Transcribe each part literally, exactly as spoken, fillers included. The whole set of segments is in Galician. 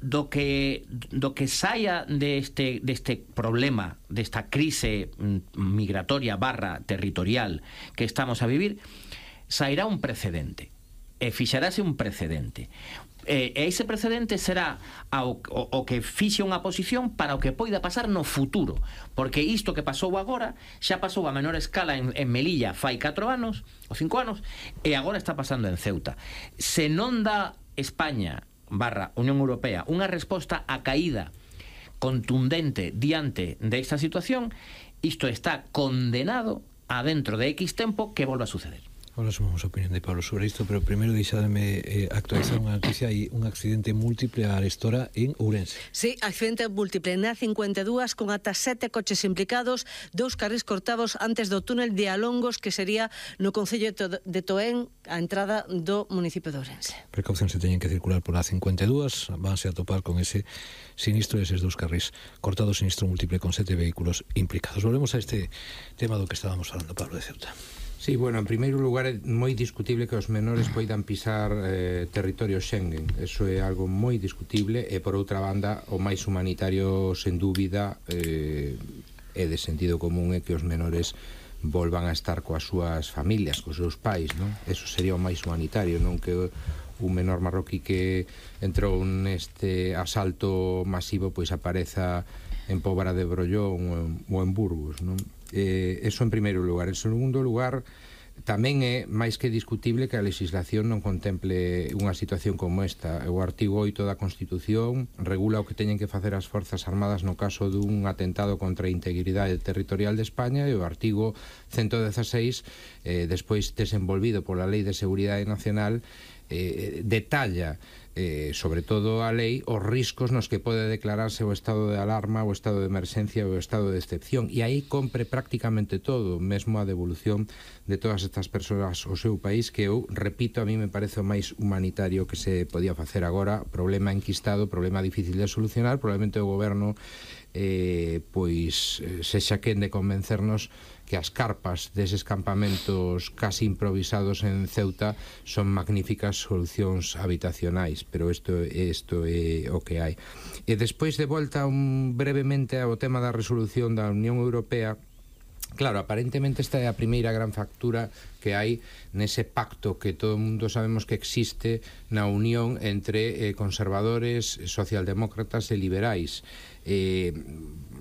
do que do que saia deste, deste problema, desta crise migratoria barra territorial que estamos a vivir, sairá un precedente, e fixarase un precedente. E ese precedente será ao, o, o que fixe unha posición para o que poida pasar no futuro, porque isto que pasou agora xa pasou a menor escala en, en Melilla fai catro anos ou cinco anos, e agora está pasando en Ceuta. Se non dá España barra Unión Europea unha resposta a caída contundente diante desta situación, isto está condenado a dentro de X tempo que volva a suceder. Ahora sumamos a opinión de Pablo sobre isto, pero primeiro deixademe eh, actualizar unha noticia. Hai un accidente múltiple a arestora en Ourense. Sí, accidente múltiple na cincuenta e dúas con ata sete coches implicados, dous carrís cortados antes do túnel de Alongos, que sería no concello de Toén, a entrada do municipio de Ourense. Precaución se teñen que circular por a cincuenta e dúas, vanse a topar con ese sinistro eses dous carrís cortados, sinistro múltiple con sete vehículos implicados. Volvemos a este tema do que estábamos falando, Pablo, de Ceuta. Sí, bueno, en primeiro lugar é moi discutible que os menores poidan pisar eh, territorio Schengen. Eso é algo moi discutible, e por outra banda o máis humanitario, sen dúbida, eh, é de sentido común, é que os menores volvan a estar coas súas familias, cos seus pais, non? Eso sería o máis humanitario, non que un menor marroquí que entrou neste asalto masivo pois apareza en Pobra de Brollón ou en Burgos, non? Eh, eso en primeiro lugar. En segundo lugar, tamén é máis que discutible que a legislación non contemple unha situación como esta. O artigo oito da Constitución regula o que teñen que facer as Forzas Armadas no caso dun atentado contra a integridade territorial de España, e o artigo ciento dezaseis, eh, despois desenvolvido pola Lei de Seguridade Nacional, eh, detalla Eh, sobre todo a lei, os riscos nos que pode declararse o estado de alarma, o estado de emerxencia ou o estado de excepción, e aí compre prácticamente todo, mesmo a devolución de todas estas persoas ao seu país, que eu repito, a mí me parece o máis humanitario que se podía facer agora. Problema enquistado, problema difícil de solucionar, probablemente o goberno eh, pois sexa quen de convencernos que as carpas deses campamentos casi improvisados en Ceuta son magníficas solucións habitacionais, pero isto, isto é o que hai. E despois, de volta un, brevemente ao tema da resolución da Unión Europea. Claro, aparentemente esta é a primeira gran factura que hai nese pacto que todo o mundo sabemos que existe na unión entre eh, conservadores, socialdemócratas e liberais. Eh,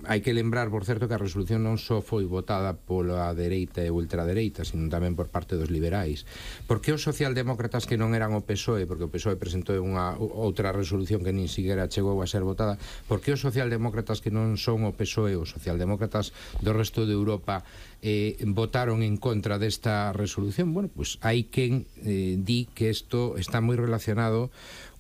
hai que lembrar, por certo, que a resolución non só foi votada pola dereita e ultradereita, sino tamén por parte dos liberais. Por que os socialdemócratas, que non eran o P S O E, porque o P S O E presentou unha outra resolución que nin siquiera chegou a ser votada, por que os socialdemócratas que non son o P S O E, os socialdemócratas do resto de Europa, eh, votaron en contra desta resolución? Bueno, pois pues hai quen eh, di que isto está moi relacionado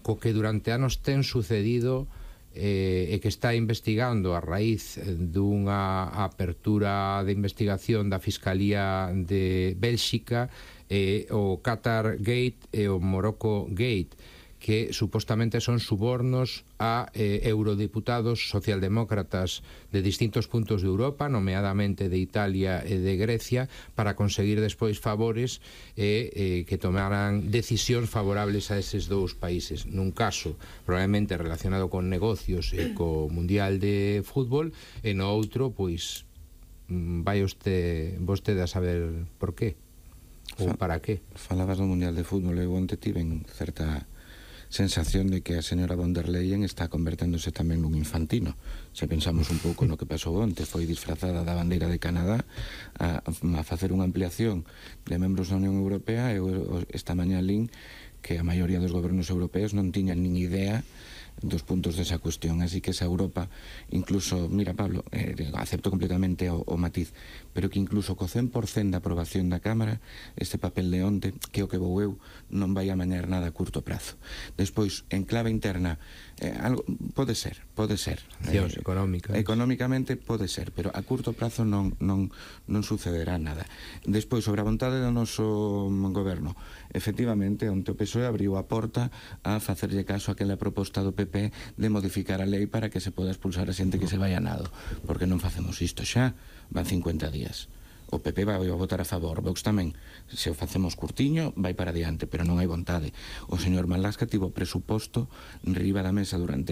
co que durante anos ten sucedido eh, e que está investigando a raíz dunha apertura de investigación da Fiscalía de Bélxica, eh, o Qatar Gate e o Morocco Gate, que supostamente son subornos a eh, eurodiputados socialdemócratas de distintos puntos de Europa, nomeadamente de Italia e de Grecia, para conseguir despois favores e eh, que tomaran decisións favorables a eses dous países. Nun caso probablemente relacionado con negocios e co Mundial de Fútbol, e no outro, pois, vai usted, vostede a saber por qué ou para qué. Falabas do Mundial de Fútbol, eu onte tiven certa sensación de que a señora von der Leyen está converténdose tamén nun infantino. Se pensamos un pouco no que pasou onte, foi disfrazada da bandeira de Canadá a, a facer unha ampliación de membros da Unión Europea, e esta mañá lín que a maioría dos gobernos europeos non tiñan nin idea dos puntos desa cuestión, así que esa Europa, incluso, mira, Pablo, eh, acepto completamente o, o matiz, pero que incluso co cen por cento da aprobación da Cámara, este papel de onte, que o que vou eu, non vai a mañar nada a curto prazo. Despois, en clave interna, eh, algo, pode ser, pode ser. Eh, económica. Económicamente pode ser, pero a curto prazo non, non, non sucederá nada. Despois, sobre a vontade do noso goberno, efectivamente, onte o P S O E abriu a porta a facerlle caso a aquela proposta do P P de modificar a lei para que se poda expulsar a xente que se vai a nado, porque non facemos isto xa, van cincuenta días. O P P vai a votar a favor, Vox tamén. Se o facemos curtiño, vai para diante, pero non hai vontade. O señor Malasca tivo presuposto riba da mesa durante